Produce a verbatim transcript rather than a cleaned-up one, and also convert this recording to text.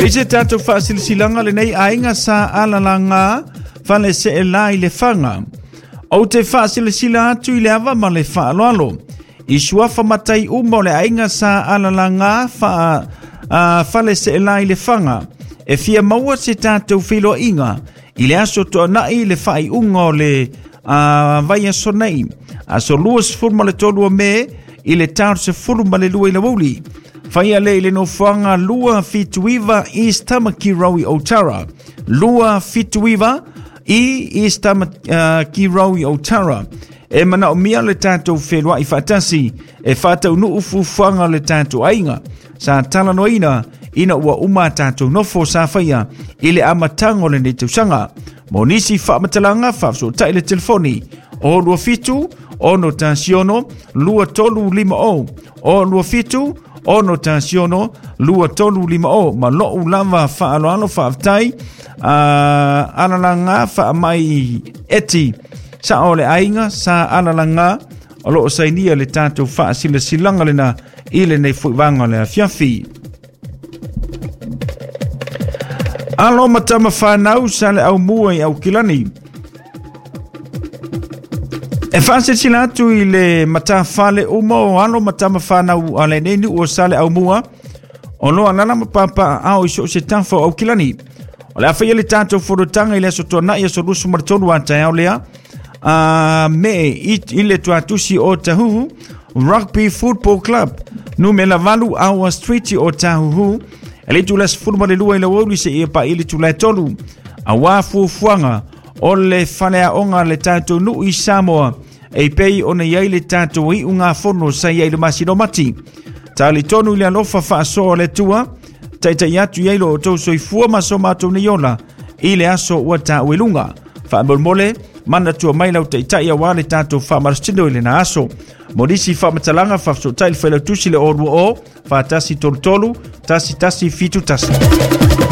E se tātou whaasilasilaga lenei aiga sa alalaga faleseelā i Lefaga. Ou te faasilasila atu i le ava ma le faaaloalo i suafa matai uma o le aiga sa alalaga fa, uh, faleseelā i Lefaga e fia maua se tātou feiloaiga i le aso Toanai le faaiuga o le uh, vaiaso nei, aso luasefulu ma le tolu o Me i le tau sefulu ma le lua i le aoauli. Faia le i le nofoaga lua fitu iva East Tamaki Road i Otara. Lua fitu iva i East Tamaki Road i Otara. E manaomia le tatou feloai faatasi e faataunuu fuafuaga o le tatou aiga sa talanoaina ina ua uma tatou nofo sa faia i le amataga o lenei tausaga. Mo nisi faamatalaga faafesootai le telefoni o lua fitu ono tasi ono lua tolu lima o o lua fitu ono tasi ono lua tolu lima o. Ma lou lava faaaloalo faafetai uh, alalaga faamai eti sa o le aiga sa alalaga o loo sainia le tatou faasilasilaga lena i lenei fuivaga o le afiafi. Alo matama whanau sa le au mua i Aukilani. E whaasesila atu i le matawhale uma o alo matama whanau a le nenu o sa le au mua o loa lala mapapa ao i so se tafa o Aukilani. O le awhaia le tātou forotanga i le aso tuanai aso lusu maratolu a taeao lea a me i, i le tuatusi o Tahuhu Rugby Football Club numela valu Awa Street o Tahuhu. E le tula sefulu ma le lua i le aoauli seia paia le tula e tolu. Auā fuafuaga o le faleaoga le tatou nuu i Samoa e pei ona iai le tatou iugafono sa iai le masina o Mati. Talitonu i le alofa faasoa o le Atua, taitai atu i ai lo outou soifua ma so matou nei ola i le aso ua taua i luga. Faamolemole, manatua mai lau taitai auā le tatou faamalositino i lena aso. Mo nisi faamatalaga faafesootai le failautusi le o lua o, fa tasi tolu tolu, tasi tasi fitu tasi.